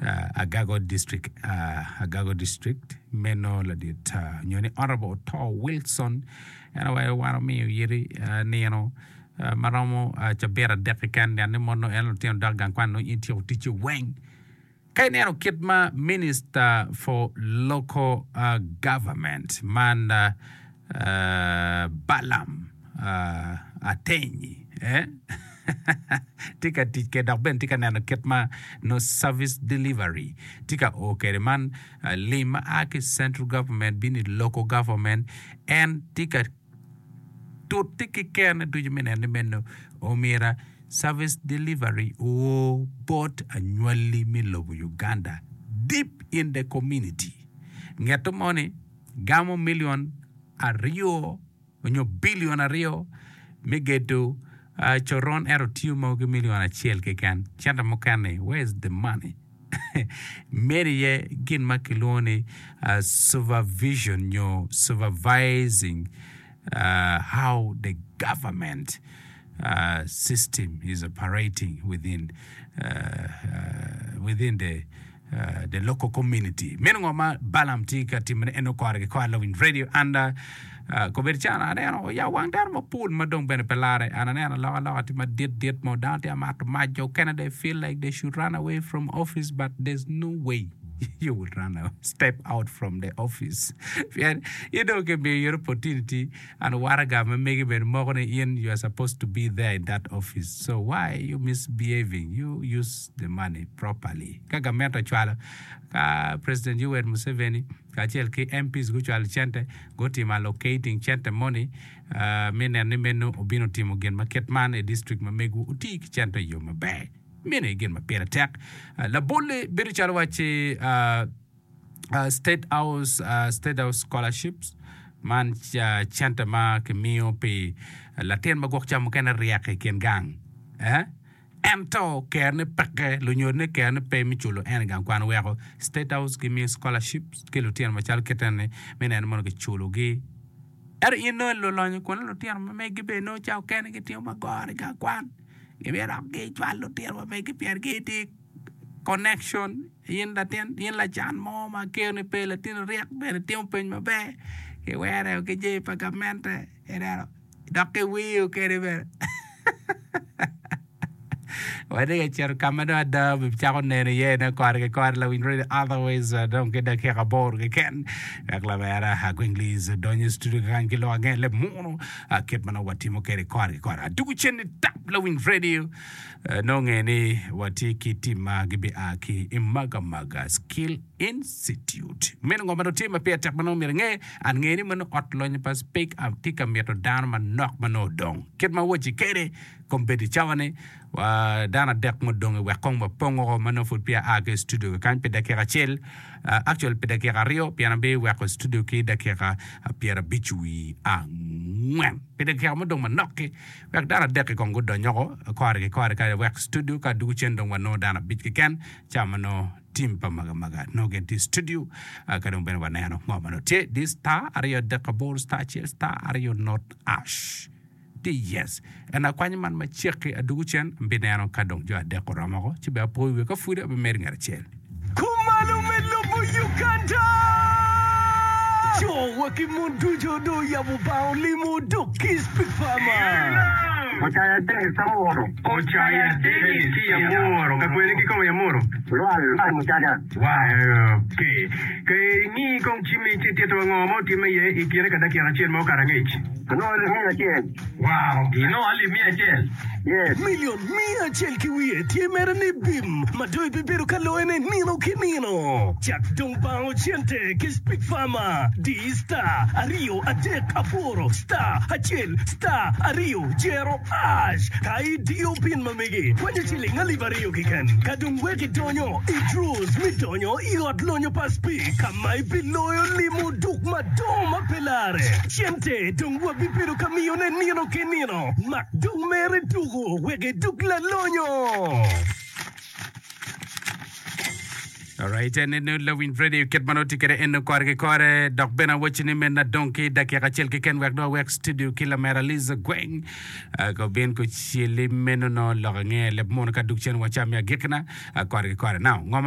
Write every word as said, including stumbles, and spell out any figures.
Agago District Agago District meno ladit nyo ni Honourable Oto Wilson en owaco wan omiyo yiti nino ma romo cabit adek keken neno ni mono en lutino dok i gang kwan nongo in ityeko ticci weng. Ka ineno kit ma Minister for Local Government man Balaam Ateny tye ka tic kwede dok bene tye ka neno kit ma nongo service delivery tye ka o kwede man lim ma a ki i central government bino i local government en tye ka tute ki kerone ducu me neno ni meno omyero Service delivery oo bot anywali me lobo Uganda deep in the community. Ngeto mo ni gamo million aryo onyo billion aryo me gedo coron ento tiyo mogo ki million acel keken. Cente mukene where is the money? Meno iye gin ma kilwongo ni supervision nyo supervising how the government system is operating within within the the local community. Meno ngo ma Balaam tye ka timone en kore ki kore lawiny radio and kobedo calo aneno oya wang dano mapol ma dong bene pe lare and aneno alokaloka tye madit dit mo dano tye ka mato mac jo okene they feel like they should run away from office but there's no way you will run away step out from the office pien in dong kimiyo in opportunity and waraga ma megi bene moko ni in you are supposed to be there in that office so why you misbehaving you use the money properly ka gamente ocwalo ka president Yoweri Museveni kacel ki M Ps gucwalo cente gutimo allocating cente moni me neno ni meno obino timo gin ma kit man i district ma megwu oti ki cente i yo maber meno aye gin ma pire tek labolle bedo calo wacci state house state house scholarships man cente ma kimiyo pi latin ma gwok ca mukene ryek i kin gang ento kerone peke lunyodone kerone pe me culo en i gang kwan weko state house gimiyo scholarships ki lutino macalo kit eni me neno mono kiculogi ento in nongo lulonyo kun lutino ma megi bene nongo ca okene gitimo magoro i gang kwan gimito dok gicwal lutino ma megi pien gitye connection in latin in lacan mo ma keroni pe latin ryek bene timo peny maber kiwere ki jami pa gamente ineno dok kiwiyo kwede bene watye ka cito ka ma dong ada obicako neno iye ne kore ki kore lawiny radio otherwise dong ki dakika aboro keken wek lamera Agweng Liz odonyo i studio kany ki lok ange leb munu kit ma nongo watimo kwede kore ki kore adugo cen ni tap lawiny radio nongo nge ni watye ki tim ma gibia ki i Magamaga Skill Institute meno ngo ma dong tye ma pire tek ma nongo myero inge an nge ni meno ot lonyo pa Speke tye ka mito dano manok ma nongo odong kit ma awaci kede kombeddi cawa ni dano adek mudong wek kong wapongo ma nongo pud peya aa ki i studio kany pi dakika acel actually pi dakika aryo pien abiweko studio ki dakika pyerabic wi angwen pi dakika mudong manok-ki wek dano adek-ki kong gudonyoko kore ki kore ka wek studio ka dugo cen dong wanongo dano abic keken ca ma nongo tim pa magamaga nongo gin tye i studio ka dong bene waneno ngo ma nongo tye di star aryo adek aboro star acel star aryo not ash Di yes. En akwanyo man macek-ki adugu cen, abineno ka dong jo adek oromo oko, ci bene apoyo wiye ka pud abimedo ngat acel. Kumalo me lobo Uganda! Co wa ki mon ducu dong oyabo bang olimo dok ki Speak Farmer. Ocaya Dennis Amuro. Ocaya Dennis ki Amuro. Ka kwene ki kome Amuro? Lwal Mucaca. Wow, okay. Ka ingi kong cimmi ci ititwa ngo ma otimme iye i kine ka dakika acel ma okato angec. Anongo alip miya acel. Wow, inongo alip miya acel? Yes. Milion miya acel ki wiye tye mere ni bim ma dong ibibedo ka loyone nino ki nino. Cak dong bango cente ki Speak Farmer. Di star aryo adek aboro star acel star aryo jero ash ka idiyo pin ma megi kwanyo ciling alip aryo keken. Ka dong wek idonyo i draws me donyo i ot lonyo pa Speak ka ma ibiloyo limo duk madongo ma pe lare. Cente dong wabibedo ka miyone nino ki nino. Mak dong mere tuko wek iduk lalonyo. Alright, en eno lawiny radio kit ma nongo tye kwede eno kore ki kore dok bene awacci ni meno adong ki dakika acel keken wek dong awek studio ki lamera Liza Gweng uh, ko bin ko celi meno no lok ange leb muno ka duk cen wacam me agikina uh, kore ki kore. Now, ngo ma